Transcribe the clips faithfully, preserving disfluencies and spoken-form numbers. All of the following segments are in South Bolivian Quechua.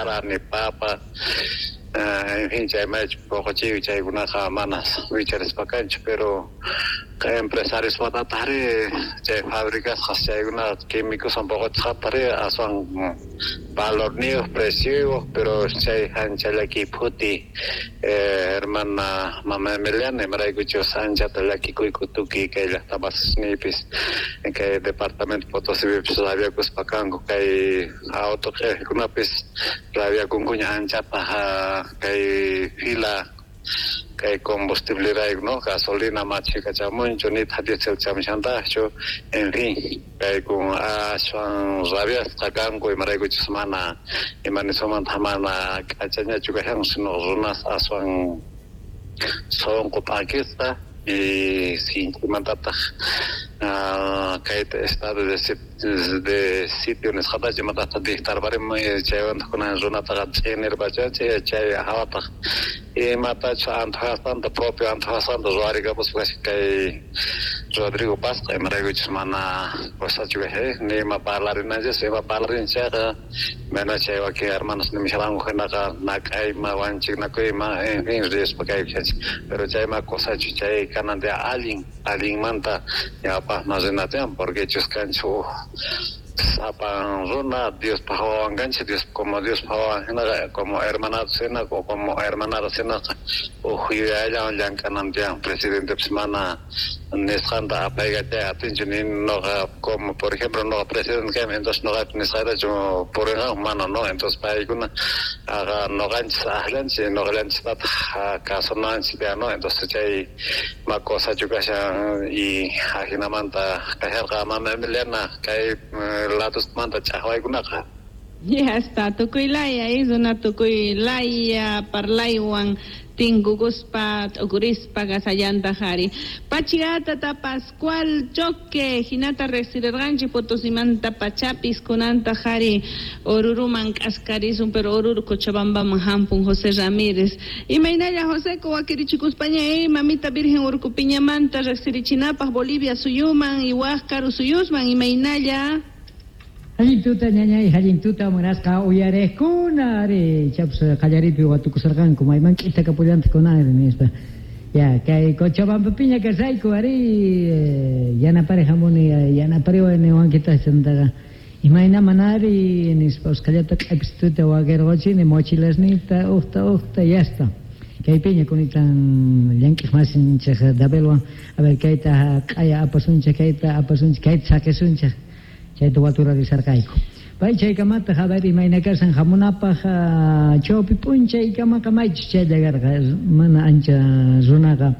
sara ni papa, en fin, chay maychu poqochiy chaykunaqa mana wicharispa kanchu, pero empresarios watatari chay fabricasqas chaykuna químicos poqochisqatari aswan valorniyuq precioyuq, pero chay ancha llakiy phuti, hermana mama Emiliana, imaraykuchus anchata llakikuyku tukuy kay llaqtamasniypis kay departamento Potosipipis rabiakuspa kanku, kay auto q'iqkunapis rabiakunkuña anchata kay fila kay combustible rayku, no, gasolina machika chamunchu nitaq diésel chamushantaqchu, en fin, kaykun aswan rabiasqa kanku imaraykuchus mana imanisumanta mana k'achañachu kashan, sino runas aswan sunqu p'akisqa y sinchimantataq kay estado de de sitio nisqatachu imatataq dictarparimun chaywantaq kunan runataqa ch'inirpachanchik chay hawataq imatachus antojasqanta propio antojasqanta ruwarikapuspa kay Rodrigo Pazqa imaraykuchus mana cosachu kashan ni ima parlarinanchis ima parlarin chayqa mana chay wakin hermanos nimisharanku hinaqa nak'ayma wanchiknakuyma en fin rispa kaykushanchik, pero chayma cosachu chay kanan allin allinmanta ñawpaqman rina tiyan porque chus kanchik uj sapan runa Diospaq wawan kanchik, Dios como Diospaq wawan hinaqa como hermanados hina o como hermanadas hinaqa uj yuyayllawan llank'anan tiyan presidentepis mana nisqanta apaykachay atinchu ni noqa como por ejemplo noqa presidente kayman entonces noqapis nisqaytachu purinqanku mana no, entonces paykuna aqa noqanchis aqllanchik noqallanchistataq kasunanchik tiyan no, entonces chay ma cosachu kashan y ajinamanta kasharqa mama Emiliana kay ladusmanta ch'aqwaykunaqa. Ya está, tukuy laya, runa tukuy laya parlaywan tinkukuspa t'ukurispa kasallantaq ari. Pachigata Pascual Choque, hinata riqsirqanchik Potosimanta pachapis kunantaq ari Oruruman k'askarisun, pero Oruro Cochabambaman hampun José Ramírez. Imaynalla José wakirichikuspaña eh, mamita Virgen Urcupiñamanta riqsirichinapaq Bolivia suyuman y waq karu suyusman imaynalla. Allin tuta ñañay, allin tuta munasqa uyariqkuna ari chaps qallaripi watukusarqanku mayman k'ita kapullantaq kunanri nispa. Ya kay Cochabambapiña kasayku ari yanapari hamuni yanapariwan niwankitaq chantaqa imayna manari nispa usqhallata q'ipituta wakirquchini mochilasniyta uqta uqta yasta. Kaypiña kunitan llank'iq masinchik Dabelwan a ver kayta q'aya apasunchik kayta apasunchik kayta saqisunchik chayta waturarisarqayku. Pay chaykamataq a ver imayna kasan hamunapaq chawpi p'unchaykamaqa maychus chaylla karqa mana ancha runaqa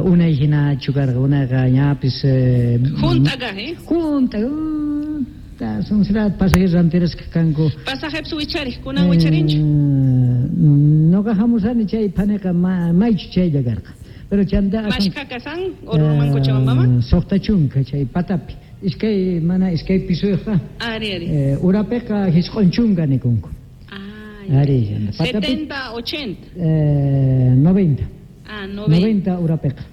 unay hinachu karqa unayqa ñapis Junta kaq, eh? Junta sonserá pasajeros rantirasqa kanku. Pasajepis wichariq kunan wicharinchu? Noqa hamusani chay phaniqa maychu chaylla karqa. Pero chanta Mashka kasan Oruruman Cochabambaman? Suqta chunka chay patapi. Iskay mana iskay pisuyuqqa. Ari ari. Eh, urapiqa hisq'un chunka nikunku. Ah, Ari, setenta, ochenta. Eh, noventa. Ah, noventa. Noventa urapiqa.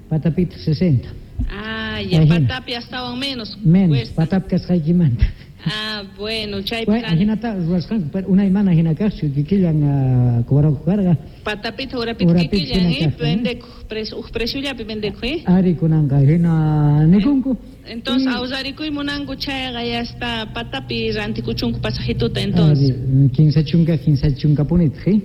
Patapita sesenta. Ah, ya patapi astawan menos. Menos, patapi kasqaykimanta. Ah, bueno, chay Bueno, hinata ruwasqanku, pero unay mana hina kaqchu, kikillan cobraqku karqa. Patapita urapita kikillan, eh, vendekuq, precio, uj preciollapi vendekuq, eh. Ari kunanqa hina nikunku. Entonces, awsarikuy munanku chayqa ya está patapi rantikuchunku pasajituta entonces. Ari, kinsa chunka, kinsa chunka punitaq, eh.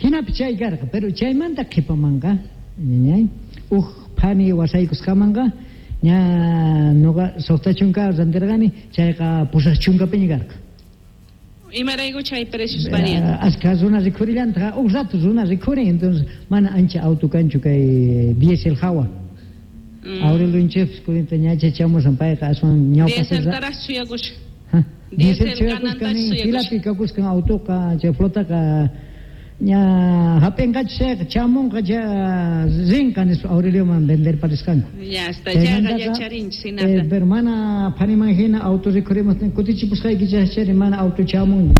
Hinapi chay karqa, pero chaymanta qhipamanqa, ñañay, uj phani wasaykusqamanqa ña noqa suqta chunka rantirqani, chayqa pusaq chunkapiña karqa. Imarayku chay precios varían? Ashka runa rikhurillantaqa, uj rato runa rikhurin, entonces mana ancha auto kanchu kay diésel hawa. Mm. Aurelio kunita ñacha chamusan payqa aswan ñawpa Dieseltaraq suyakusha. Diesel suyakusqa filapi kakusqan autoqa chay flotaqa ña hap'inqachu chayqa chamunqa cha rinqa nispa Aurelioman venderparisqanku. Ya está, chayqa yacharinchik hinata. Eh, pero mana phaniman hina auto rikhurimuqtin kutichipusqayki chayri mana auto chamun.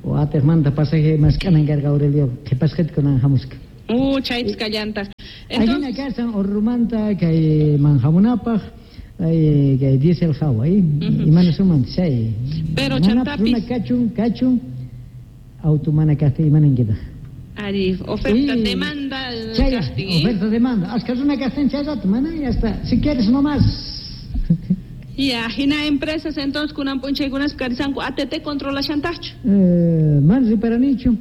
Watiqmanta pasaje mask'anan karqa Aurelio qhipasqita kunan hamusqa. Uh, chaypis kallantaq. Entonces, ahina kasan Orurumanta kayman hamunapaq ay kay diésel hawa, eh? Imana sumanta chay. Pero chantapis runa kachun kachun Auto mana kajtin imanankitaq. Ari, oferta demanda chay, oferta demanda. Ashka runa kajtin chay rato, mana ya está. Si quieres nomás. Ya, hina empresas entonces kunan p'unchaykunas karisanku A T T controlashantajchu. Eh, mana riparanichu.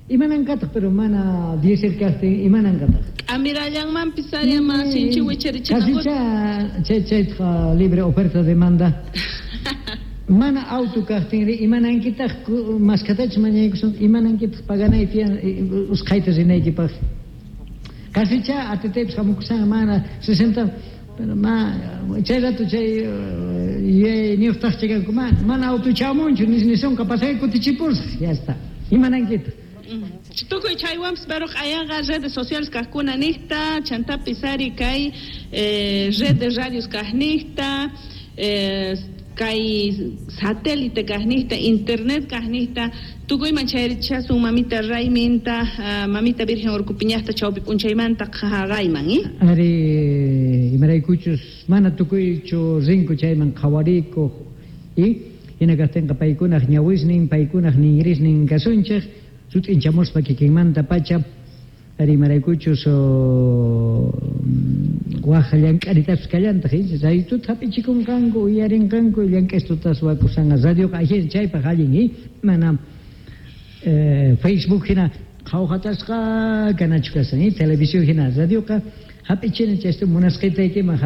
Imanankataq, pero mana diésel kajtin imanankataq. Amirallanmanpis ari ama sinchi wicharichinakuta. Kasicha chay chaytaqa libre oferta demanda. Mana auto kajtinri imanankitaq maskatachus mañaykusun imanankitaq paganay tiyan usqhayta rinaykipaq. Kasicha A T T pis hamukusan mana sesenta pero ma chay rato chay yuyayniyuqtaq chakanku mana mana auto chamunchu nisonqa pasay kutichipusaq ya está imanankitaq. Tukuy chaywanpis pero q'ayanqa redes sociales kajkuna niqta chantapis ari kay eh, red de radios kajniqta eh, kay satélite kajniqta internet kajniqta tukuyman chayrichasun mamita Rayminta uh, mamita Virgen Urkupiñaqta chawpi p'unchaymanta qhaqayman eh? Ari imaraykuchus mana tukuychu rinku chayman qhawarikuq y hina kajtinqa paykunaq ñawisnin paykunaq ninrisnin kasunchik sut'inchamuspa kikinmanta pacha ari imaraykuchus waj llank'aritapis kallantaq raytuta hap'ichikunqanku uyarinqanku llank'aystutas wakusanqa radioqa ajin chaypaq allin eh? Mana eh, Facebook hina qhawhatasqa kanachu kasan eh? Televisión hina radioqa hap'ichina chaystu munasqaytaykiman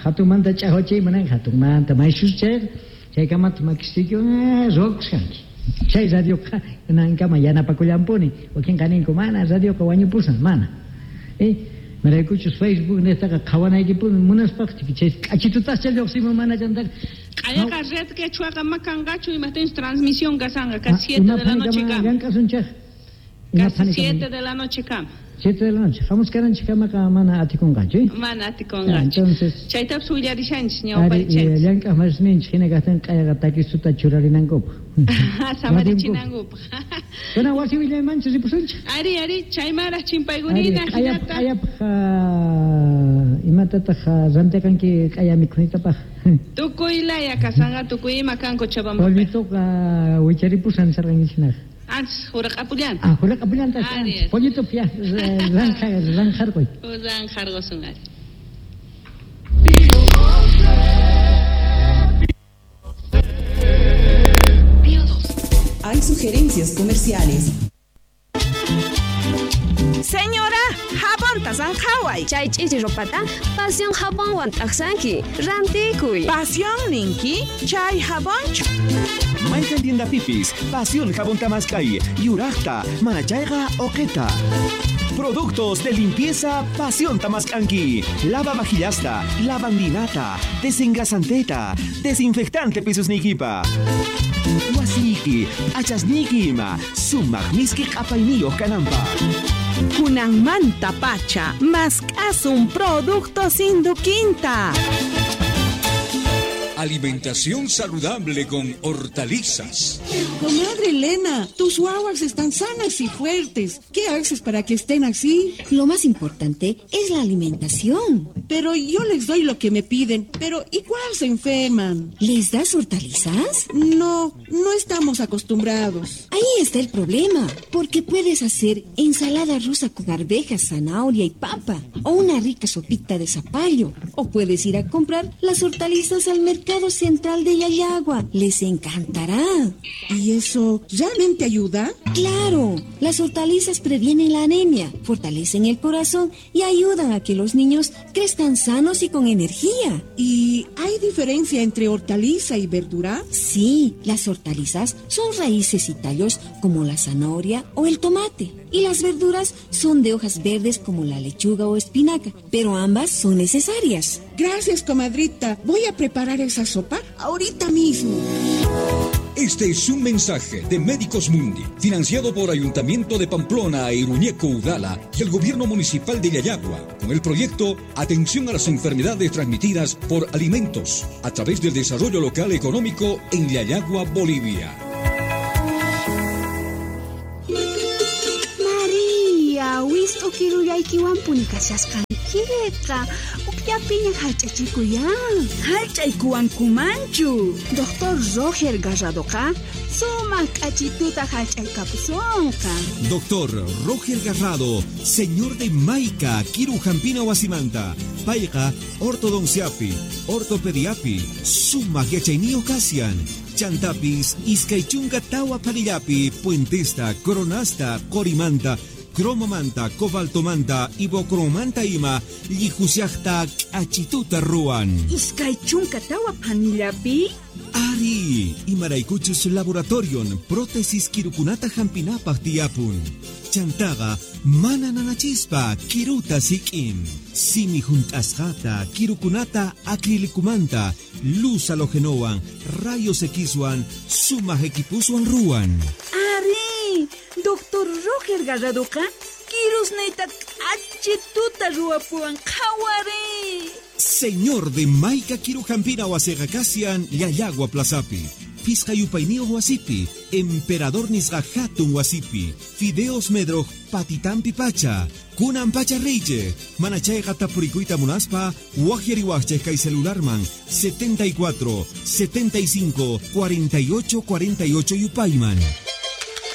hatunmanta ch'aqwachiyman hatunmanta maysus chayqa chaykamata makisiykiwan ruwakusqanki. Chay radioqa nankama yanapakullanpuni wakinqa ninku mana radioqa wañupusan mana eh maraykuchus Facebook niqtaqa qhawanaykipuni munaspaq chay k'achitutascha lluqsimun mana chantaqa q'ayaqa red quechuaqa ma kanqachu imaqtinchus transmisión kasanqa casi siete de la noche kama llank'asunchaq casi siete de la noche kama siete de la noche hamusqaranchik kamaqa mana atikunqachu eh? Mana atikunqachu entonces chaytapas willarishanchis ñawparichanchis llank'aq masninchik hina kajtin q'ayaqa takistuta churarinankupaq samarichinankupaq. Kuna wasi willaymanchis ripusunchik ari ari chaymaraq chimpaykunina hinata q'ayapaq imatataq rantiqanki q'aya mikhunitapaq tukuy laya kasanqa tukuy ima kan Cochabamba pollituqa wicharipusan sarqankichinaqa. Antes juraqapullanta. Ah, juraqapullanta. Pollito ya ranqa ranqarquy. Ranqarqusun ari. Hay sugerencias comerciales. Señora, jabón tasanjaway. Chay ch'ichi ropata, pasión jabonwan t'aqsanki. Rantikuy. Pasión ninki, chay jabonchu. Mayqan tienda pipis, pasión jabón tamaskay, yuraqta, manachayqa oqeta. Productos de limpieza Pasión Tamascanqui. Lava vajillasta, lavandinata, desengrasanteta, desinfectante pisusnikipa. Wasiki, achasniki ima, sumaq miski q'apayniyuq kananpaq. Kunanmanta pacha, mask'asun productos Induquinta. Alimentación saludable con hortalizas. Comadre Elena, tus guaguas están sanas y fuertes. ¿Qué haces para que estén así? Lo más importante es la alimentación. Pero yo les doy lo que me piden, pero igual se enferman. ¿Les das hortalizas? No, no estamos acostumbrados. Ahí está el problema, porque puedes hacer ensalada rusa con arvejas, zanahoria y papa, o una rica sopita de zapallo, o puedes ir a comprar las hortalizas al mercado Central de Llallagua. Les encantará. ¿Y eso realmente ayuda? ¡Claro! Las hortalizas previenen la anemia, fortalecen el corazón y ayudan a que los niños crezcan sanos y con energía. ¿Y hay diferencia entre hortaliza y verdura? Sí, las hortalizas son raíces y tallos como la zanahoria o el tomate. Y las verduras son de hojas verdes como la lechuga o espinaca, pero ambas son necesarias. Gracias, comadrita. Voy a preparar esa sopa ahorita mismo. Este es un mensaje de Médicos Mundi, financiado por Ayuntamiento de Pamplona e Iruñeco Udala y el Gobierno Municipal de Llallagua, con el proyecto Atención a las Enfermedades Transmitidas por Alimentos, a través del Desarrollo Local Económico en Llallagua, Bolivia. María, wist'u kirullaykiwanpuni kashasqankiqa. Kayllapiña hallch'achikuya. Hallch'aykuwankumanchu. Doctor Roger Garradoqa sumaq k'achituta hallch'aykapusonqa. Doctor Roger Garrado, señor de Maica, Kiru Jampina Wasimanta, Payqa, ortodonciapi, ortopediapi, sumaq yachayniyuq kasian. Chantapis, iskay chunka tawa phanillapi, puentesta, coronasta, qorimanta, cromomanta, cobaltomanta, ibocromanta ima, llijusiajta k'achituta ruwan. Iskay chunka tawa phanillapi? Ari, imaraykuchus laboratorion, prótesis kirukunata hampinapaj tiyapun. Chantaqa, mana nanachispa, kiruta sik'in. Simi junt'asqata, kirukunata acrilicumanta, luz halogenowan, rayos Xwan, sumaq equipuswan ruwan. Ari, Doctor Roger Garradoqa, kirusniyta k'achituta ruwapuwan qhawari. Señor de Maica Kirujampina wasiqa kasian Llallagua Plazapi. Pisqa yupayniyuq wasipi, Emperador nisqa hatun wasipi, Fideos Medroj patitampi pacha, kunan pacha reyche, mana chayqa tapurikuyta munaspa, wajyariwajchej kay celularman setenta y cuatro, setenta y cinco, cuarenta y ocho, cuarenta y ocho yupayman.